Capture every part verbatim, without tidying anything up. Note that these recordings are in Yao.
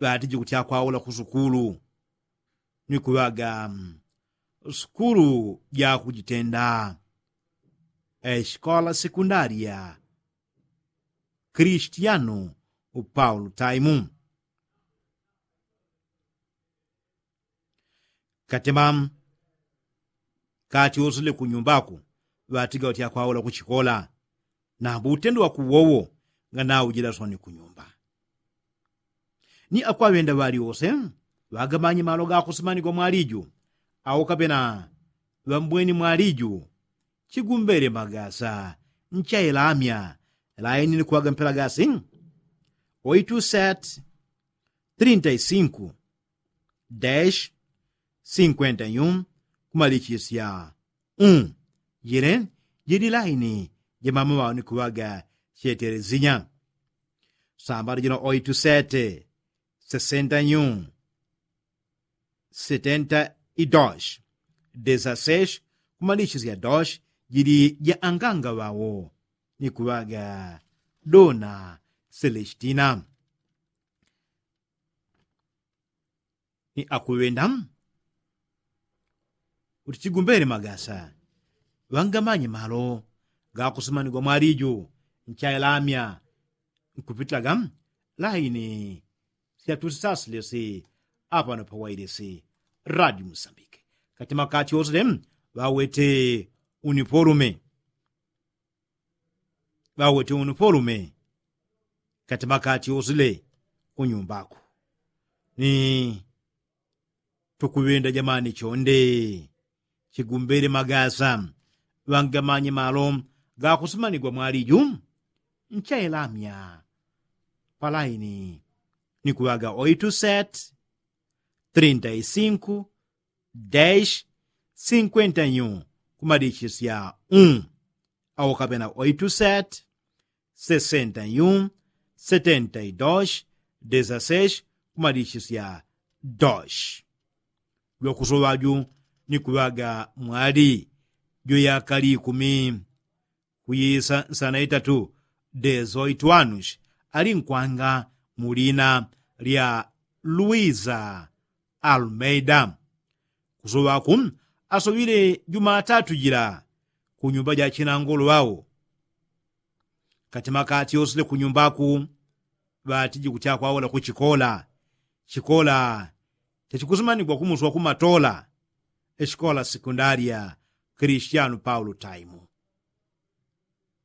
ŵatiji kutya kwaula ku sukulu ni kuŵaga sukulu ja kujitenda, esikola sekundaria kristiano paulo taimu. Katema kati osile kunyumba aku ŵatiga ŵatya kwaula kuchikola. Nambu utendo waku wowo nganaujila soni kunyumba. Ni akwaŵenda ŵali ose ŵagamanye malo gakusimanigwa mwaliju au kapena ŵambweni mwaliju. Chigumbele magasa nchailamya laini ni kuŵaga mpela gasi oitu set trinta i sinku dash sinkwenta yu kumalichisya un. Jile jili laini jamama ŵao ni kuŵaga chetelesinya. Sambala jino oitu sete sesenta yu setenta i dosh desasesh kumalichisya dosh jili ja anganga ŵao ni kuŵaga dona selestina. Ni akuŵenda uti chigumbele magasa ŵangamanye malo gakusimanigwa mwaliju nchailamya nkupitaga laini syatusisasilesi apano pawailesi radio musambike. Katima kati osile ŵawete unipolume ŵawete unupolume katima kati osile kunyumbako. Ni tukuŵenda jamani chonde chigumbele magasa ŵangamanye malo gakusimanigwa mwaliju nchailamya palaini ni kuŵaga oitu set trinta i sinku dash sinkwenta yu kumalichisya un au kapena oitu set sesenta yu setenta i dosh desasesh kumalichisya dosh. Jwakusoŵaju ni kuŵaga mwali jweyakali ikumi kuyisa nsana itatu desoitu anushi ali nkwanga mu lina lya luisa almeida. Kusoŵaku asoŵile jumatatu jila kunyumba ja chinangolo ŵao. Katima kati osile kunyumbaku ŵatiji kutya kwaula kuchikola chikola chachikusimanigwa kumuswa kumatola esikola sekundaria kristiano paulo taimu.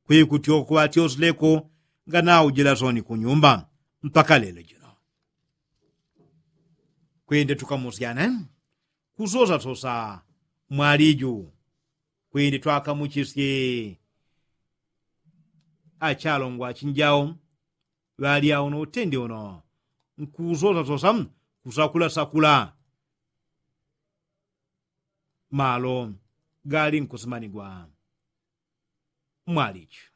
Kwikutyoko ŵatyosileko nganaujila soni kunyumba mpaka lelo jino. Kwende tukamusyane kusosasosa mwaliju kwende twakamuchisye achalongwa achinjao ŵalya uno utende uno nkusosasosa kusakula sakula malo gali nkusimanigwa mwalichu.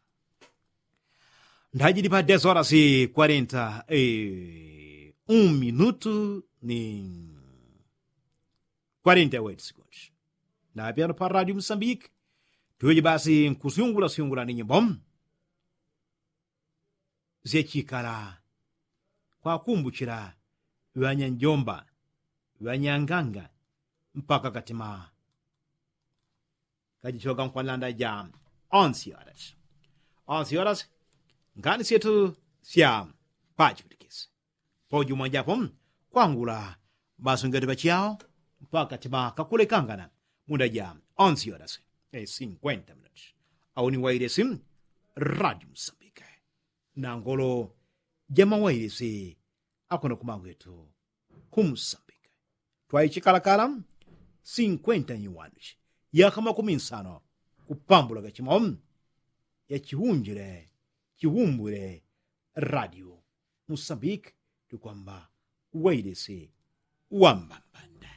Ndajili pa desorasi kwarenta un minutu ni kwarenta weti sikundi. Napyano pa radio musambiki tuweje basi nkusyungula syungula ni nyimbo syechikala kwakumbuchila ŵanyanjomba ŵanyanganga mpaka katima kajichoga nkwanlanda ja onsi orasi onsi orasi. Ngani syetu sya pachipitikisi pojumwajapo kwangula basungeti pachao mpaka katima kakulekangana munda ja onsi orasi sinkwenta minuti. Auni wailesi radio musambike nangolo jamawailesi akona kumangwetu kumusambika twaichikalakala sinkwenta nyiwanuchi yaka makumi nsano kupambula gachimo yachiunjile chiumbwile radio musambika tukwamba wailesi wambambanda.